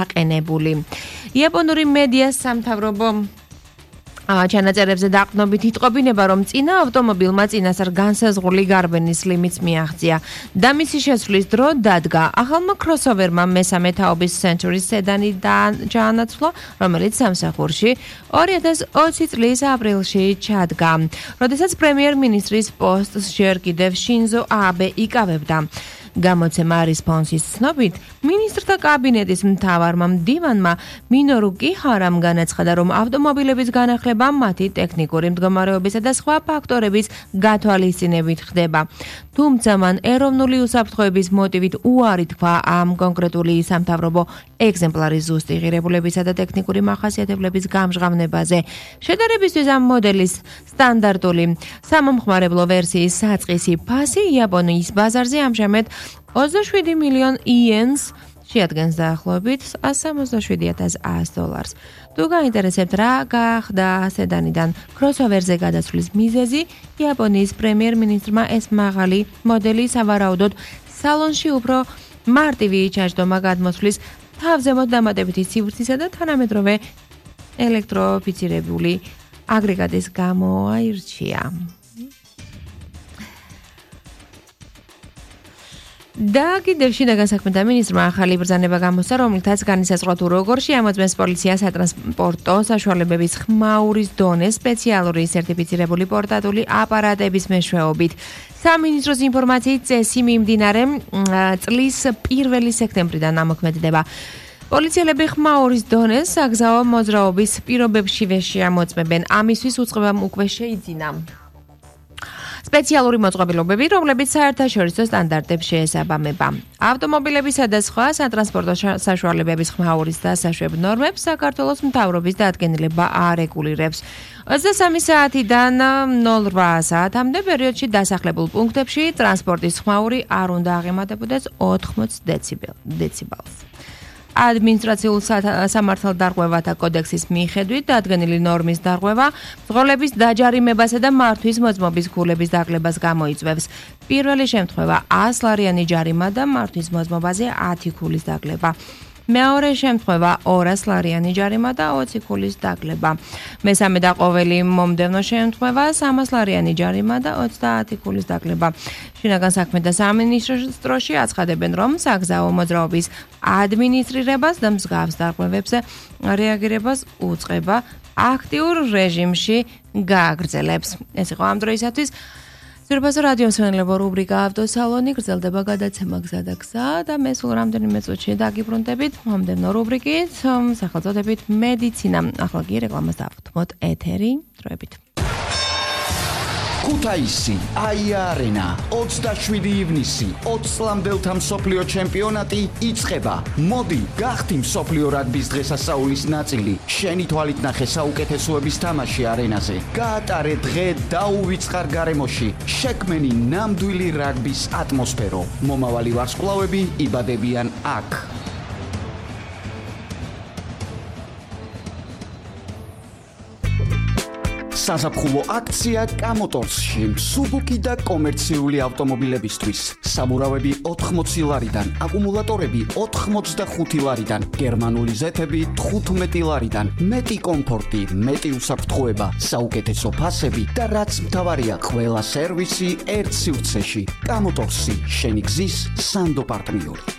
აყენებული. იაპონური მედია სამთავრობო ჩანაწერებზე დაყრდნობით იტყობინება, რომ წინა ავტომობილმა წინასწარ განსაზღვრული გარბენის ლიმიტს მიაღწია და მისი შესვლის დრო დადგა. ახალმა crossover-მა მესამე თაობის Century სედანი ჩაანაცვლა, რომელიც სამსახურში 2020 წლის აპრილში ჩადგა. როდესაც პრემიერ-მინისტრის პოსტს ჯერ კიდევ შინზო აბე იკავებდა. გამოცემა რესპონსის ცნობით, მინისტრთა კაბინეტის მთავარმა მდივანმა მინორუ კიჰარამ განაცხადა, რომ ავტომობილების განახლება მათი ტექნიკური მდგომარეობისა და სხვა ფაქტორების გათვალისწინებით ხდება. თუმცა მან ეროვნული უსაფრთხოების მოტივით უარი თქვა ამ კონკრეტული სამთავრობო ეგზემპლარის ზუსტი ღირებულებისა და ტექნიკური მახასიათებლების გამჟღავნებაზე. შედარებისთვის ამ მოდელის სტანდარტული სამომხმარებლო ვერსიის საწყისი ფასი იაპონიის ბაზარზე ამჟამად 27 მილიონ იენს შეადგენს დაახლოებით $167,100. თუ გაინტერესებთ რა გახდა სედანიდან crossover-ზე გადასვლის მიზეზი, იაპონიის პრემიერ-მინისტრმა ეს მაღალი მოდელი სავარაუდოდ სალონში უფრო მარტივი ჩაჯდომა გადმოსვლის თავზემოთ დამატებითი სივრცისა და თანამედროვე ელექტროფიცირებული აგრეგატის გამო აირჩია. და კიდევ შინაგან საქმეთა მინისტრმა ახალი ბრძანება გამოსცა, რომლითაც განისაზღვრა თუ როგორ შეამოწმეს პოლიცია სატრანსპორტო საშუალებების ხმაურის დონეს სპეციალური სერტიფიცირებული პორტატული აპარატების მეშვეობით. სამინისტროს ინფორმაციით წესი მიმდინარე წლის 1 სექტემბრიდან ამოქმედდება. პოლიციელები ხმაურის დონეს საგზაო მოძრაობის პირობებშივე შეამოწმებენ. ამისთვის უწყებამ უკვე შეიძინა სპეციალური მოწყობილობები, რომლებიც საერთაშორისო სტანდარტებს შეესაბამება. ავტომობილებისა და სხვა სატრანსპორტო საშუალებების ხმაურის დასაშვებ ნორმებს საქართველოს მთავრობის დადგენილება არეგულირებს. 23 საათიდან 08 საათამდე პერიოდში დასახლებულ პუნქტებში ტრანსპორტის ხმაური არ უნდა აღემატებოდეს 80 დეციბელს. ადმინისტრაციულ სამართალდარღვევათა კოდექსის მიხედვით დადგენილი ნორმის დარღვევა მძღოლების დაჯარიმებასა და მართვის მოწმობის ქულების დაკლებას გამოიწვევს. პირველი შემთხვევა 100 ლარიანი ჯარიმა და მართვის მოწმობაზე 10 ქულის დაკლება. მეორე შემთხვევა 200 ლარიანი ჯარიმა და 20 ქულის დაკლება. მესამე და ყოველი მომდევნო შემთხვევა 300 ლარიანი ჯარიმა და 30 ქულის დაკლება. შინაგან საქმეთა სამინისტროში აცხადებენ, რომ საგზაო მოძრაობის ადმინისტრირებას და მსგავს დარღვევებზე რეაგირებას უწყება აქტიურ რეჟიმში გააგრძელებს. ეს იყო ამ დროისათვის ზურბაზო რადიომსმენელებო რუბრიკა ავტოსალონი, გრძელდება გადაცემა გზა და გზა და მე სულ რამდენიმე წუთში დაგიბრუნდებით მომდევნო რუბრიკით, სახელწოდებით მედიცინა. ახლა კი რეკლამას დავთმოთ ეთერი დროებით. ქუთაისი, აია არენა, 27 ივნისი, 20 წლამდელთა მსოფლიო ჩემპიონატი იწყება. მოდი, გახდი მსოფლიო რაგბის დღესასწაულის ნაწილი. შენი თვალით ნახე საუკეთესოების თამაში არენაზე. გაატარე დღე დაუვიწყარ გარემოში. შექმენი ნამდვილი რაგბის ატმოსფერო. მომავალი ვარსკვლავები იბადებიან აქ. საზაფხულო აქცია კამოტორსში მსუბუქი და კომერციული ავტომობილებისთვის. საბურავები 80 ლარიდან, აკუმულატორები 85 ლარიდან, გერმანული ზეთები 15 ლარიდან, მეტი კომფორტი, მეტი უსაფრთხოება, საუკეთესო ფასები და რაც მთავარია, ყველა სერვისი ერთ სივრცეში. კამოტორსი, შენი გზის სანდო პარტნიორი.